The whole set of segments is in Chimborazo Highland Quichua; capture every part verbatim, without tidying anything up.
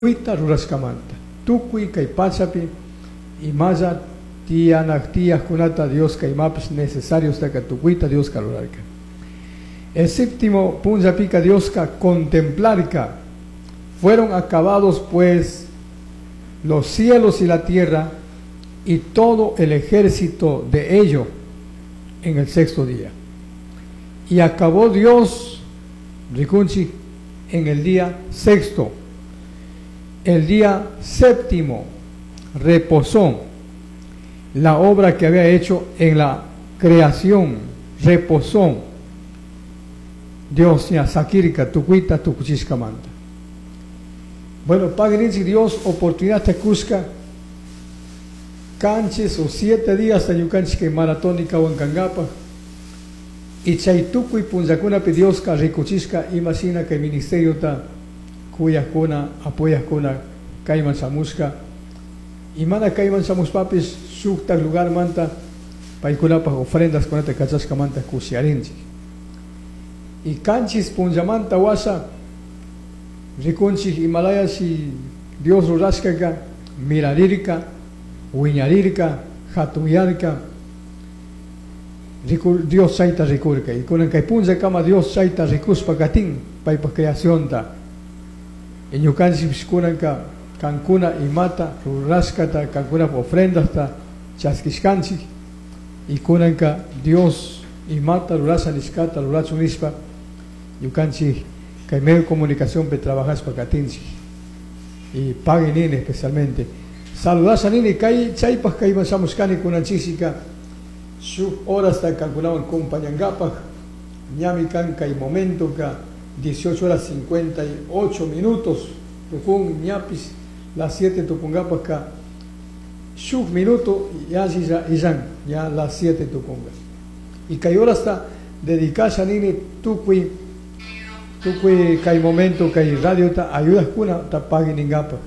Tukuita rurashkamanta tukuy kay pachapi imalla tiyanak tiyajkunata Dioska imapish necesariostaka tukuyta Dioska rurarka. El séptimo punllapika Dioska contemplarka. Fueron acabados pues los cielos y la tierra y todo el ejército de ello en el sexto día. Y acabó Dios, rikunchik, en el día sexto. El día séptimo reposó la obra que había hecho en la creación, reposó. Dios ña sakirka tukuyta tukuchishkamanta. Bueno, pagui ninchik Dios oportunidad ta kushka qanchis o siete días ñukanchik kay maratónica kankapaj y chay tukuy punllakunapi Dioska rikuchishka imashina kay ministeriota kuyajkuna apoyajkuna kayman shamushka y mana kayman shamushpapis shuktak lugarmanta paykunapaj ofrendas kunata kachashkamanta kushiyarinchik. Y qanchis punllamanta washa rikunchik imalayashi Dios rurashkaka mirarirka, wiñarirka, hatunyarka, Dios chayta rikurka. Y kunan kay punllakama Dios chayta rikushpa katin paypaj creacionta. Y ñukanchikpish kunanka kankuna imata rurashkata kankunapaj ofrendasta chaskishkanchik y kunanka Dios imata rurasha nishkata rurachun nishpa ñukanchik kay medio de comunicación pe trabajashpa katinchik y pagui nini especialmente. Saludasha nini kay chaypaj kayman shamushkani kunanchikshika shuk horasta kankunawan compañankapaj ñami kan kay momento ka dieciocho horas cincuenta y ocho minutos tukun ñapis las siete tukunkapaj ka shuk minuto ya illan ya las siete tukunka y kay horasta dedikasha nini tukuy tukuy kay momento kay radiota ayudaskuna ta pagui ninkapaj.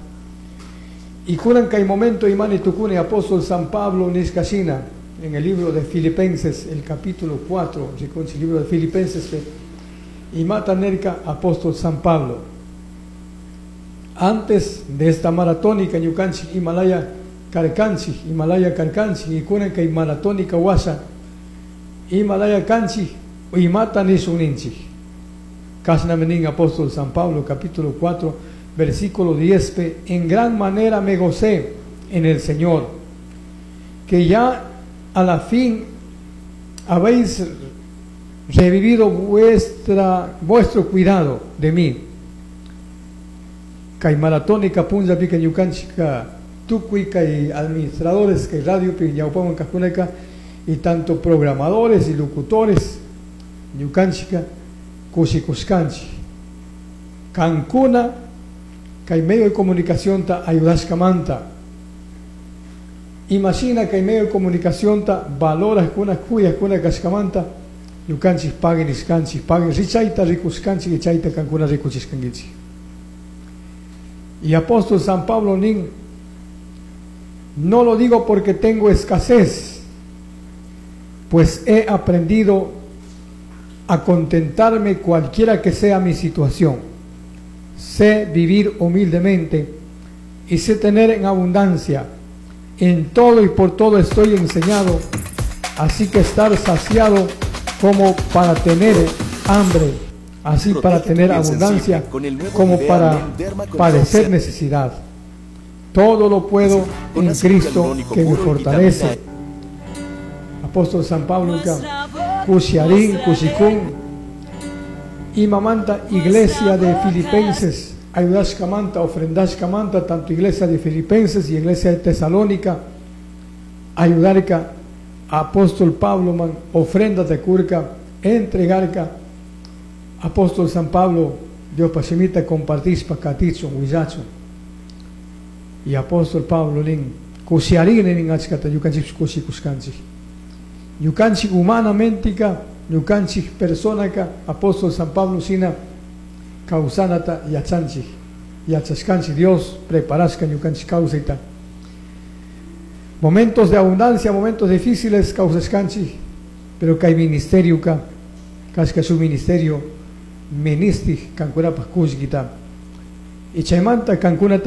Y kunan kay momento imani tukuni apóstol San Pablo nishkashina en el libro de Filipenses, el capítulo cuatro, rikunchik el libro de Filipenses, imata nerka apóstol San Pablo. Antes de esta maratónica ñukanchik Himalaya karkanchik, Himalaya karkanchik, y kunan kay maratónica washa Himalaya kanchik, imata nishun ninchik. Kashnami nin apóstol San Pablo, capítulo cuatro, versículo diez, en gran manera me gocé en el Señor, que ya a la fin habéis revivido vuestra, vuestro cuidado de mí. Kay maratónica punllapika ñukanchika tukuy kay administradores kay radiopi ñawpaman kajkunaka y tanto programadores y locutores ñukanchika kushikushkanchik. Kankuna kay medio de comunicación ta ayudashkamanta. Imagina kay medio de comunicación ta valoraskuna kuyajkuna kashkamanta ñukanchik pagui nishkanchik, pagui richayta rikushkanchik y chayta kankuna rikuchishkankichik. Y apóstol San Pablo nin, no lo digo porque tengo escasez, pues he aprendido a contentarme cualquiera que sea mi situación. Sé vivir humildemente y sé tener en abundancia. En todo y por todo estoy enseñado, así que estar saciado como para tener hambre, así Protege para tu tener piel abundancia, sensible con el nuevo como Nivea para Men Derma Control padecer C. necesidad. Todo lo puedo Con en ácido Cristo hialurónico que me puro y fortalece. vitamina E. Apóstol San Pablo, Kushiarín, Kushikún, y mamanta iglesia de Filipenses, ayudashkamanta, ofrendashkamanta, tanto iglesia de Filipenses y iglesia de Tesalónica, ayudarka, apóstol Pablo man, ofrenda de curca, entregarka, apóstol San Pablo, Dios pasimita compartispa katichun, huillachun. Y apóstol Pablo nin, kushiarín nin achkata, ñukanchik kushikushkanchik. Ñukanchik humanamente ka, ñukanchik personaka, apóstol San Pablo sina kawsanata yachanchik, yachashkanchik, Dios preparashka ñukanchik kawsayta. Momentos de abundancia, momentos difíciles kawsashkanchik, pero kay ministerio ka, kashka su ministerio ministik kankunapaj kullkita. Y chaymanta kankunata